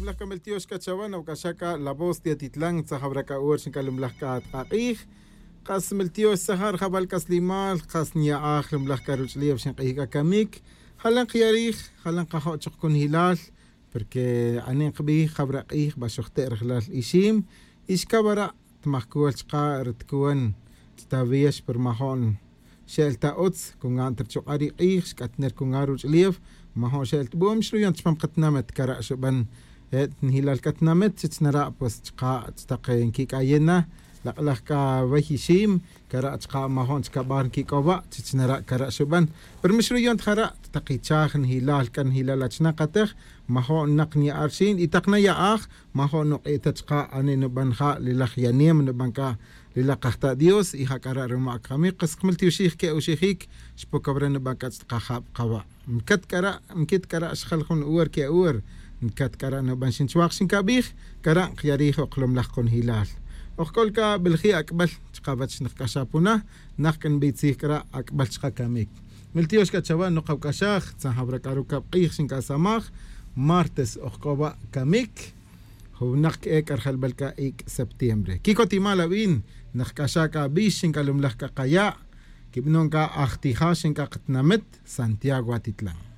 Lumlaj kameltiox kachawan nawk'axaka La Voz de Atitlán tzajab'raka uwer xinkalumlaj k'atq'aq'ij qas meltiox tzajar jab'al k'aslimal qas nya'aj lumlaj karuch'liw xinq'ij k'akamik jalan qyarij jalan qajo'choq kunjilal porque anin qb'ij jab'raq'ij b'axojte' rajlal ixiim ixkab'ara' tmajkuwal chqa ritkuwan ttawiex pirmajo'n xe'l ta utz kungan trichoq'a ri q'ij xk'atner kungan ruch'lew majon xe'l tb'oom xruyon chpom qatnamet kara' xub'an njilal katnamet chichnara' pues chqa chtaq nkik'ayena laq'laj k'a wey ixiim kara' chqa majon chkab'ar nkik'ob'a chichnara' kara' xub'an pero mixruyon tjara' taq ichaj njilal k'a njilal achna qatej majon naq nya'ar xiin y taq naya'aj majon nuq'ita chqa ani nub'an ja' lilaj yanem nub'an k'a lilaj qajta' Dios y jak'ara' ruma kami qas qmaltioxij ke uxijik xpokab'ra nub'an k'a chtqajab' qawa' mkat k'ara' mkit k'ara' xjal jun uwer ke uwer nkat k'ara' nub'an xinchwaq xinkab'ij kara' qyarij oqlomlaj qunjilal ojk'olka b'elji ak'b'al chqawach nqk'axapuna naq k'inb'itzij k'ara' ak'b'al chqa kamik miltiox k'a chawa nuqawk'axaj tzajab'rak'aru kab' q'ij xink'asamaj martes ojk'owa kamik juwnaq k'ek arjalb'al k'a ik' septiembre kikotimal ab'in naqk'axa k'a b'ix xink'alumlaj k'a qaya' kib'non k'a ajtija xink'aqtnamit Santiago Atitlán.